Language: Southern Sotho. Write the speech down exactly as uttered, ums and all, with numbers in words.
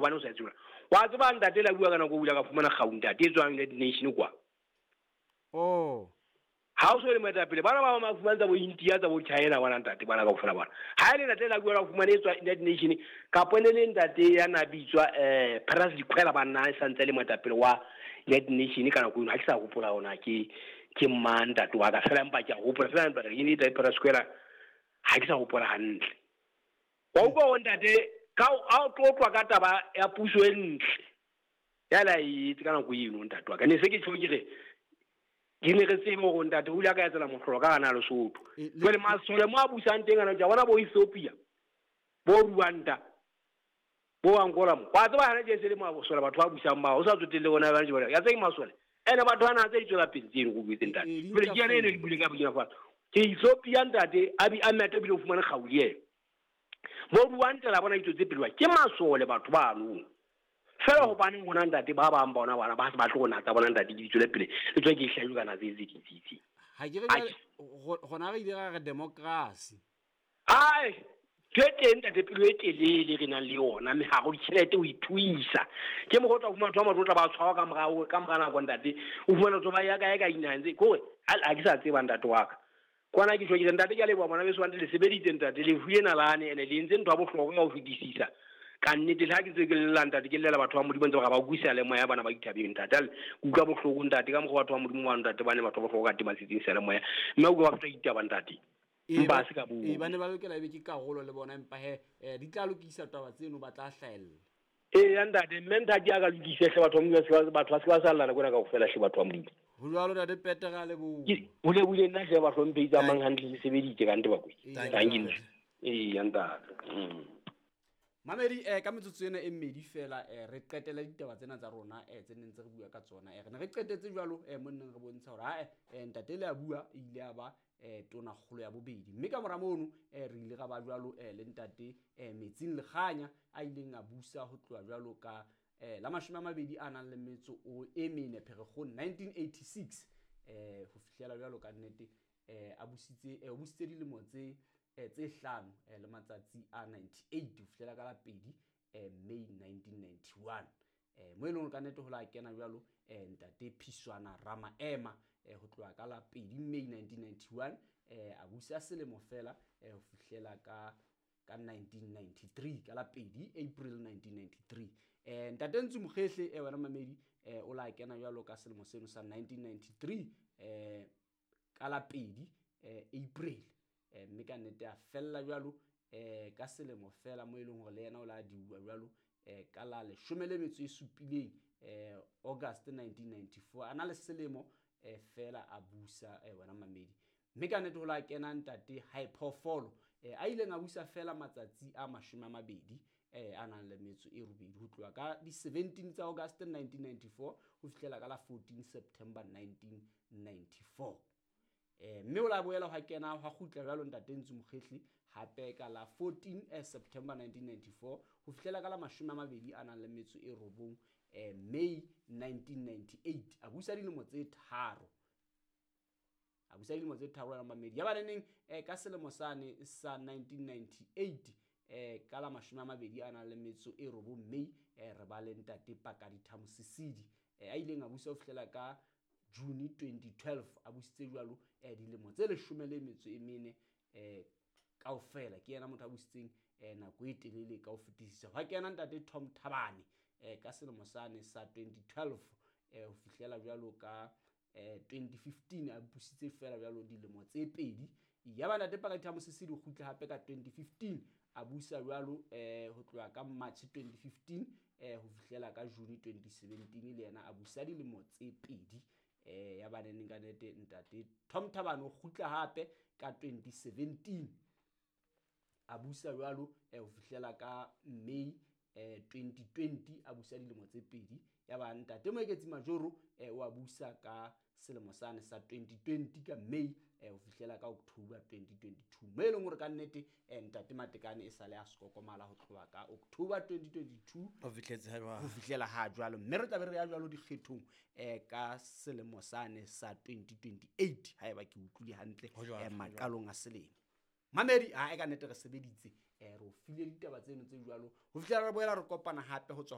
Hobane o sa tseba. Wa tseba ntate la bua ka nako o bula ka fumana kgau ntate e tswang United Nation kwa. Oh. Ha o so le moetapele bana ba ba fumana tsa bo India tsa bo China bana ntate bana kaofela bana. Ha ile ntate la bua la fumana e tswa United Nation kapo ne le ntate ya na bitswa eh Paras Dikhwela bana e santse le moetapele wa United Nation ka nako eno ha ke sa hopola ona ke ke mang ntate wa ka fela empa ke a hopola fela ntate ke ne Paras Dikhwela ha ke sa hopola hantle. Wa utlwa hore ntate ka a o tlotlwa ka taba ya puso e ntle ya la itse ka nako eno ntate wa ka ne se ke tjho ke re ke ne re tsebe hore ntate o ile a ka etsela mohlolo ka hana Lesotho. Jwale masole mo a busang teng ana ja bona bo Ethiopia bo Rwanda bo Angola mo wa tseba hana je se le masole batho ba busang ba o sa tsotelle bona ba jwale ya tseng masole ene batho bana tse di tswela pele tseno go buetse ntate jwale ke yane ene le buile ka Burkina Faso ke Ethiopia ntate a bi a meta bile o fumane kgau le bo Rwanda la bona itsotse pele ke masole batho ba no fela hobane ngwana ntate ba bang bona bana ba se ba tlo natsa bona ntate di tswele pele le tswe ke hlajo kana tse tse ditsi ha ke re gona re ile ra re democracy ai ke teng ntate pelo e telele re nang le yona mme ha go ditjhelete o ithuisa ke mo go tla fumana batho ba matlotla ba tshwarwa ka morao ka mora nako ntate o fumana batho ba ya kae ka dinaheng tse kore ha ke sa tseba ntate wa ka kwana ke tjho ke ntate ke a leboha bona beso ntate le sebeditse ntate le fuye nalane ene le entse ntho ya bohlokwa ka ho fetisisa ka nnete le ha ke tse ke lela ntate ke llela batho ba Modimo ntse ba ba utlwisa le moya bana ba ithabeng ntate ke utlwa bohloko ntate ka mokgwa batho ba Modimo wa ntate ba ne batho ba bohloko ka tema setseng sa le moya mme o utlwa ba feta ditaba ntate empa se ka bua e ba ne ba lokela ebe ke karolo le bona empa he di tla lokisa taba tseno ba tla hlahella e ya ntate mme ntate a ka lokise hle batho ba Modimo batho ba se ba sallana kona kaofela hle batho ba Modimo ho jwalo ntate Peter a leboha o lebohile nna hle ba hlomphe tsamayang hantle le sebeditse ka nte ba kwe thank you e ya ntate. Mamedi eh ka metsotso ena e mmedi fela eh re qetela ditaba tsena tsa rona eh tse neng tse re bua ka tsona eh re ne re qetetse jwalo eh mo neng re bontsha hore ha eh ntate le a bua ile a ba eh tona kgolo ya bobedi mme ka mora mono eh re ile ra ba jwalo eh le ntate eh Metsing Lekganya a ileng a busa ho tloha jwalo ka eh la mashome a mabedi a nang le metso o e mene Pherekgong nineteen eighty-six eh ho fihlela jwalo ka nnete eh a busitse eh o busitse dilemo tse tse hlano le matsatsi a ninety-eight ho fihlela ka la pedi May nineteen ninety-one eh mo eleng ka nnete ho la kena jwalo ntate Phiswana Ramaema ho tloha ka la pedi May nineteen ninety-one eh a busa selemo fela ho fihlela ka ka nineteen ninety-three ka la pedi April nineteen ninety-three eh ntate Ntsu Mokgehle eh wena mamedi eh o la kena jwalo ka selemo seno sa nineteen ninety-three eh ka la pedi April eh mme ka nnete a fella jwalo eh ka selemo fela mo eleng hore le yena o la diuwa jwalo eh ka la leshome le metso e supileng eh August nineteen ninety-four ana le selemo eh fela a busa eh wena mamedi mme ka nnete ho la kena ntate Haiphoofolo eh a ileng a busa fela matsatsi a mashome a mabedi eh a nang le metso e robedi ho tloha ka di seventeen tsa August nineteen ninety-four ho fihlela ka la fourteen September nineteen ninety-four eh mme o la boela ha kena ha kgutla jwalo ntate Ntsu Mokgehle hape ka la fourteen September nineteen ninety-four ho fihlela ka la mashome a mabedi a nang le metso e robong eh May nineteen ninety-eight a busa dilemo tse tharo a busa dilemo tse tharo ya mamedi ya ba neng eh ka selemo sane sa nineteen ninety-eight eh ka la mashome a mabedi a nang le metso e robong May eh re ba le ntate Pakalitha Mosisili eh a ileng a busa ho fihlela ka June twenty twelve a busitse jwalo eh dilemo tse leshome le metso e mene eh kaofela ke yena motho a busitseng eh nako e telele ka ho fetisisa ha ke yena ntate Tom Thabane eh ka selemo sane sa twenty twelve eh ho fihlela jwalo ka eh twenty fifteen a busitse fela jwalo dilemo tse pedi ya ba ntate Pakalitha Mosisili o kgutla hape ka twenty fifteen a busa jwalo eh ho tloha ka March twenty fifteen eh ho fihlela ka June twenty seventeen le yena a busa dilemo tse pedi eh ya ba neng ka nete ntate Tom Thabane o kgutla hape ka twenty seventeen a busa jwalo eh ho fihlela ka May eh twenty twenty a busa dilemo tse pedi ya ba ntate Moeketsi Majoro eh o a busa ka selemo sane sa twenty twenty ka May eh ho fihlela ka October twenty twenty-two mo eleng hore ka nnete eh ntate Matekane e sale a skokomala ho tloha ka October twenty twenty-two ho fihletse ha jwalo ho fihlela ha jwalo mme re tla be re ya jwalo dikgethong eh ka selemo sane sa twenty twenty-eight haeba ke utlwile hantle eh maqalong a selemo mamedi ha e ka nnete re sebeditse eh re o file ditaba tseno tse jwalo ho fihlela re boela re kopana hape ho tswa